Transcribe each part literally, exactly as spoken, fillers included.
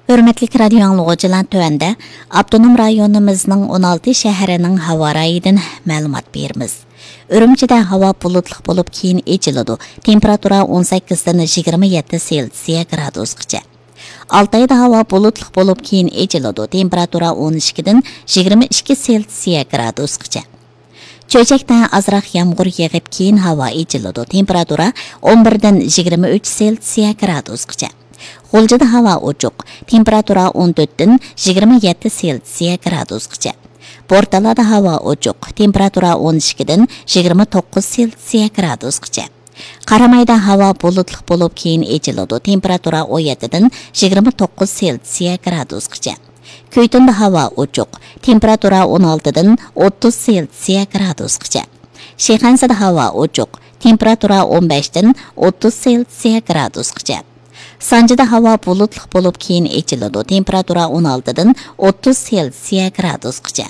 ھۆرمەتلىك رادىيو ئاڭلىغۇچىلار، تۆۋەندە ئاپتونوم رايونىمىزنىڭ ئون ئالتە شەھىرىنىڭ ھاۋا رايىدىن مەلۇمات بېرىمىز. ئۈرۈمچىدە ھاۋا بۇلۇتلۇق بولۇپ، كېيىن ئېچىلىدۇ. تېمپېراتۇرا ئون سەككىزدىن يىگىرمە يەتتە سېلسىيە گرادۇسقىچە. ئالتايدا ھاۋا بۇلۇتلۇق بولۇپ، كېيىن ئېچىلىدۇ. تېمپېراتۇرا ئون ئىككىدىن يىگىرمە ئىككى سېلسىيە گرادۇسقىچە. چۆچەكتە ئازراق يامغۇر يېغىپ، كېيىن ھاۋا ئېچىلىدۇ. تېمپېراتۇرا ئون بىردىن يىگىرمە ئۈچ سېلسىيە گرادۇسقىچە. غۇلجىدا ھاۋا ئوچۇق. تېمپېراتۇرا ئون تۆتتىن يىگىرمە يەتتە سېلسىيە گرادۇسقىچە. بورتالادا ھاۋا ئوچۇق. تېمپېراتۇرا ئون ئىككىدىن يىگىرمە توققۇز سېلسىيە گرادۇسقىچە. قارامايدا ھاۋا بۇلۇتلۇق بولۇپ، كېيىن ئېچىلىدۇ. تېمپېراتۇرا ئون يەتتىدىن يىگىرمە توققۇز سېلسىيە گرادۇسقىچە. كۈيتۇندا ھاۋا ئوچۇق. تېمپېراتۇرا ئون ئالتىدىن ئوتتۇز سېلسىيە گرادۇسقىچە. شىخەنزىدە ھاۋا ئوچۇق. تېمپېراتۇرا ئون بەشتىن ئوتتۇز سېلسىيە گرادۇسقىچە. سانجىدا ھاۋا بۇلۇتلۇق بولۇپ، كېيىن ئېچىلىدۇ. تېمپېراتۇرا ئون ئالتىدىن ئوتتۇز سېلسىيە گرادۇسقىچە.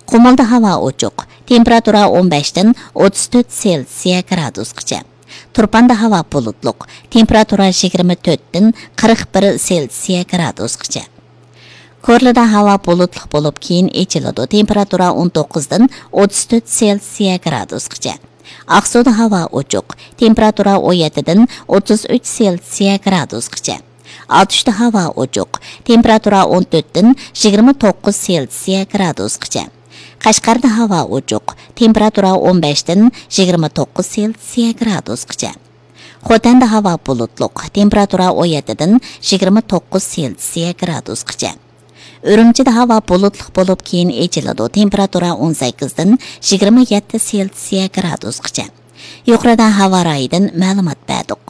قۇمۇلدا ھاۋا ئوچۇق. تېمپېراتۇرا ئون بەشتىن ئوتتۇز تۆت سېلسىيە گرادۇسقىچە. تۇرپاندا ھاۋا بۇلۇتلۇق. تېمپېراتۇرا يىگىرمە تۆتتىن قىرىق بىر سېلسىيە گرادۇسقىچە. كورلىدا ھاۋا بۇلۇتلۇق بولۇپ، كېيىن ئېچىلىدۇ. تېمپېراتۇرا ئون توققۇزدىن ئوتتۇز تۆت سېلسىيە گرادۇسقىچە. ئاقسۇدا ھاۋا ئوچۇق. تېمپېراتۇرا ئون يەتتىدىن ئوتتۇز ئۈچ سېلسىيە گرادۇسقىچە. ئاتۇشتا ھاۋا ئوچۇق. تېمپېراتۇرا ئون تۆتتىن يىگىرمە توققۇز سېلسىيە گرادۇسقىچە. قەشقەردە ھاۋا ئوچۇق. تېمپېراتۇرا ئون بەشتىن يىگىرمە توققۇز سېلسىيە گرادۇسقىچە. خوتەندە ھاۋا بۇلۇتلۇق. تېمپېراتۇرا ئون يەتتىدىن يىگىرمە توققۇز سېلسىيە گرادۇسقىچە. ئۈرۈمچىدە ھاۋا بۇلۇتلۇق بولۇپ، كېيىن ئېچىلىدۇ. تېمپېراتۇرا ئون سەككىزدىن يىگىرمە يەتتە سېلسىيە گرادۇسقىچە. يۇقىرىدا ھاۋا رايىدىن مەلۇمات بەردۇق.